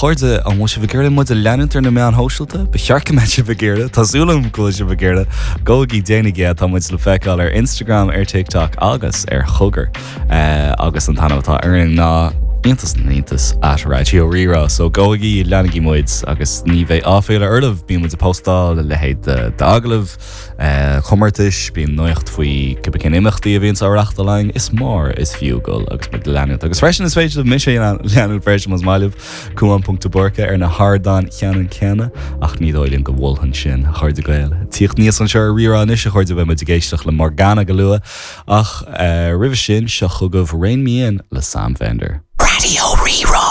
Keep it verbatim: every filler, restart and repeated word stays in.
Chairde an bhfuil sibh ag iarraidh muid a leanúint ar na meáin shóisialta, Ba cheart go mbeadh sibh ag iarraidh Tá súil agam go bhfuil sibh ag iarraidh gabhaigí déanaigí é tá muid le feiceáil ar Instagram ar TikTok agus ar Chogar uh, agus an t-ainm atá orainn ná iontas na n-iontas at Raidió Rí-Rá, so gabhaigí leanaigí muid agus ní bheidh áiféala oraibh bíonn muid ag postáil a leithéid d'agallaimh uh, comórtais bíonn nuacht faoi cibé cén imeachtaí a bhíonn á reáchtáil againn is mór is fiú dul agus muid leanúint agus freisin is féidir mise leanúint freisin más maith libh Cuán ponc de Búrca ar na hardáin cheann céanna ach ní dóigh liom go bhfuil sin a chairde Gael. Tíocht níos anseo ar Rí-Rá anois a chairde beidh muid ag éisteacht le Morgana go luath ach uh, roimhe sin seo chugaibh Rein Me In le Sam Fender. Raidió Rí-Rá.